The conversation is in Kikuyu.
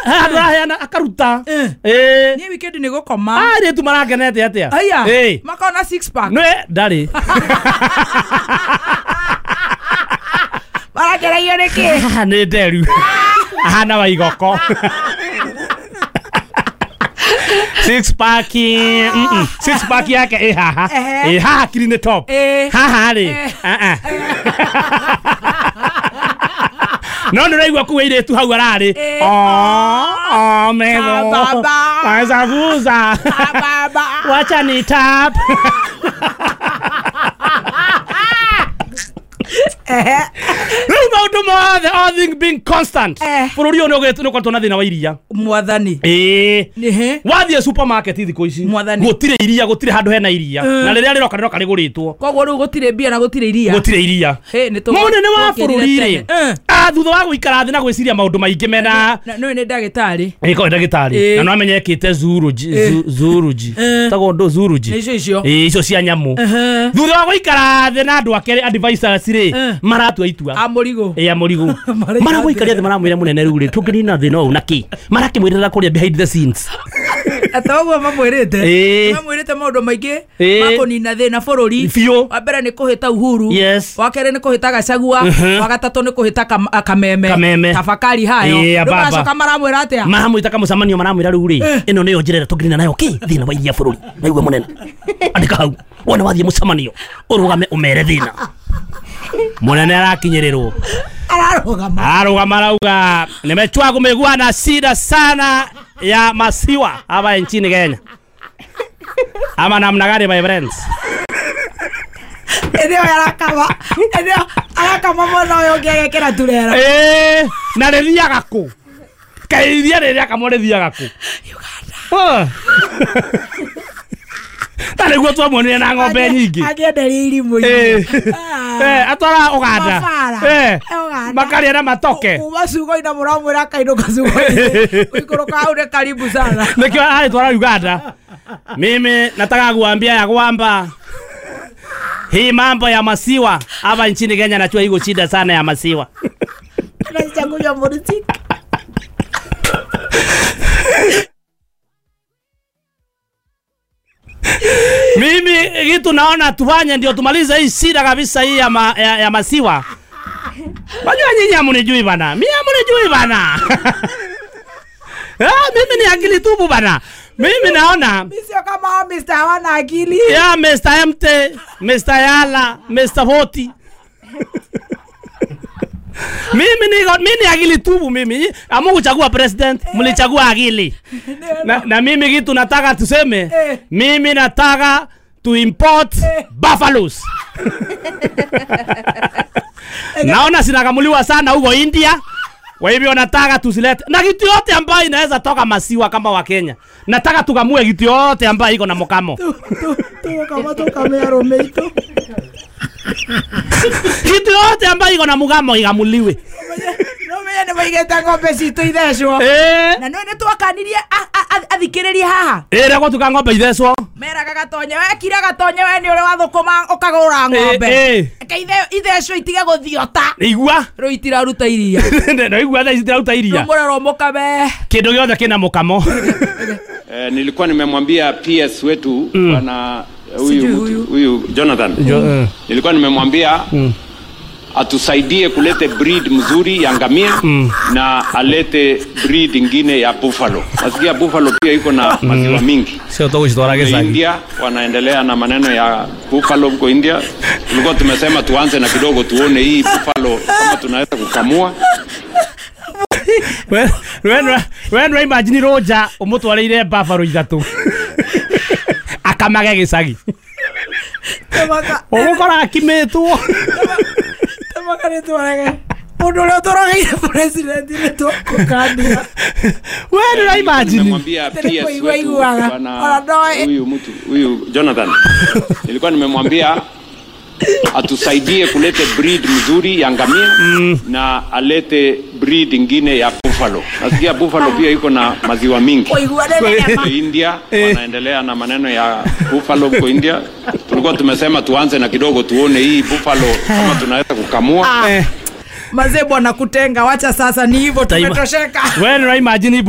Handũ araheana akaruta. Niĩ weekend nĩ gũkoma. Airĩtu marakenete atĩa? Aya. Makona six pack. Nĩ ndarĩ. Marakenagio nĩ kĩ? Nĩ nderu. Ahana wa igoko. Six pack. Six pack yake ĩ haha. Ĩ haha kiri nĩ top. Haha rĩ. No nĩraigua kuu airĩtu hau ararĩ. Oh, metho. Mazaguza. Wacha ni tap. Rĩu maũndũ mothe, all things being constant, bũrũri ũyũ nĩ ũkoretwo na thĩna wa iria. Mwathani. Wathiĩ supermarket thikũ ici gũtirĩ iria, gũtirĩ handũ hena iria, na rĩrĩa rĩroka rĩroka rĩgũrĩtwo. Koguo rĩu gũtirĩ mbia na gũtirĩ iria. Gũtirĩ iria. Mũnene wa bũrũri rĩ, thutha wa gũikara thĩ na gwĩciria maũndũ maingĩ mena nĩwe nĩ ndagĩtarĩ. Ĩĩ, ndagĩtarĩ. Na no amenye ekĩte zoology. Tagwo ndũ zoology. Nĩ icio icio. Ĩĩ, icio cia nyamũ. Thutha wa gũikara thĩ na andũ ake advisors rĩ, maratua itua. A mũrigo. Ĩĩ, a mũrigo. Maramũikaria thĩ maramwĩra mũnene rĩu rĩ, tũngĩnina thĩna ũyũ na kĩ? Marakĩmwĩrĩra kũrĩa behind the scenes. Atoguo mamwĩrĩte. Mamwĩrĩte maũndũ maingĩ ma kũnina thĩna bũrũri. Biũ. Wa mbere nĩ kũhĩta Uhuru. Yes. Wa kerĩ nĩ kũhĩta Gachagua. Wa gatatũ nĩ kũhĩta Kameme. Tafakari hayo. Rĩu maracoka maramwĩra atĩa? Maramwĩta kamũcemanio maramwĩra rĩu rĩ, ĩno nĩyo njĩra ĩrĩa tũngĩnina nayo kĩ thĩna wa iria bũrũri. Naigua mũnene. Andĩka hau. Wona wathiĩ mũcemanio, ũrũgame ũmere thĩna. Mũnene arakinyĩrĩrwo. Ararũgama. Ararũgama arauga nimechua kumekuwa na shida sana ya masiwa hapa nchini Kenya. Ama namna gani my friends? Eneo arakama. Eneo arakama mwana ũyũ ũngĩ agekĩra turera. Na rĩthiaga kũ? Kaĩ iria rĩrĩa kamwe rĩthiaga kũ? Uganda. Ta nĩguo twamuonire na ng'ombe nyingĩ. Angĩenderia irimũ-inĩ. Atwara Uganda. Makarĩa na matoke. Kuma ciugo-inĩ mũramwĩra akainũka ciugo-inĩ. Gũikũrũka hau nĩ karibu sana. Nĩkĩo arĩtwara Uganda. Mimi nataka kuambia ya kwamba hii mambo ya masiwa hapa nchini Kenya najua iko shida sana ya masiwa. Anachagulia politiki. Mimi kitu naona tufanye ndio tumalize hii shida kabisa hii ya masiwa. Najua nyinyi hamunijui bana. Mimi hamunijui bana. Mimi ni akili tupu bana. Mimi naona mimi sio kama Mr. hawana akili. Yeah, Mr. MT, Mr. Yala, Mr. 40. Mimi ni akili tupu mimi. Amukuchagua president, mlichagua akili. Na mimi kitu nataka tuseme, mimi nataka to import buffaloes. Naona sinakamuliwa sana huko India. Kwa hivyo nataka tusilete na kitu yote ambayo inaweza toka masiwa kama wa Kenya. Nataka tukamue kitu yote ambayo iko na mokamo. Tu kama romeito. Kitu yote ambayo iko na mugamo igamuliwe. No me ne maigeta ng'ombe citũ ithecwo. Na no nĩ twakanirie athikĩrĩrie haha. Rĩa gũtuka ng'ombe ithecwo. Meraga Gatonye we kira Gatonye we nĩ ũrĩ wathũkũma ũkagũra ng'ombe. Reke ithecwo itige gũthiota. Igua. Rĩu itiraruta iria. No igua thaa ici itiraruta iria. Rĩu mũrerwo mũkame. Kĩndũ gĩothe kĩna mũkamo. Nilikuwa nimemwambia PS wetu bwana huyu Jonathan. Nilikuwa nimemwambia atusaidie kulete breed mzuri ya ngamia na alete breed ingine ya buffalo. Nasikia buffalo pia iko na maziwa mingi. Sio tu kushtora gesa. India wanaendelea na maneno ya buffalo huko India. Tulikuwa tumesema tuanze na kidogo tuone hii buffalo kama tunaweza kukamua. When imagine Roger umutwarire buffalo ithatu. Akamage gicagi. Ũgũkora akimitwo. Mũndũ ũrĩa ũtũrogeire president nĩ tũkũkania. We nĩ imagine. Nimemwambia PS wetu bwana huyu mtu huyu Jonathan. Nilikuwa nimemwambia atusaidie kulete breed mzuri ya ngamia na alete breed ingine ya buffalo. Nasikia buffalo pia iko na maziwa mingi. India wanaendelea na maneno ya buffalo huko India. Tulikuwa tumesema tuanze na kidogo tuone hii buffalo kama tunaweza kukamua. Mazee bwana kutenga, wacha sasa ni hivyo tumetosheka. Wewe imagine.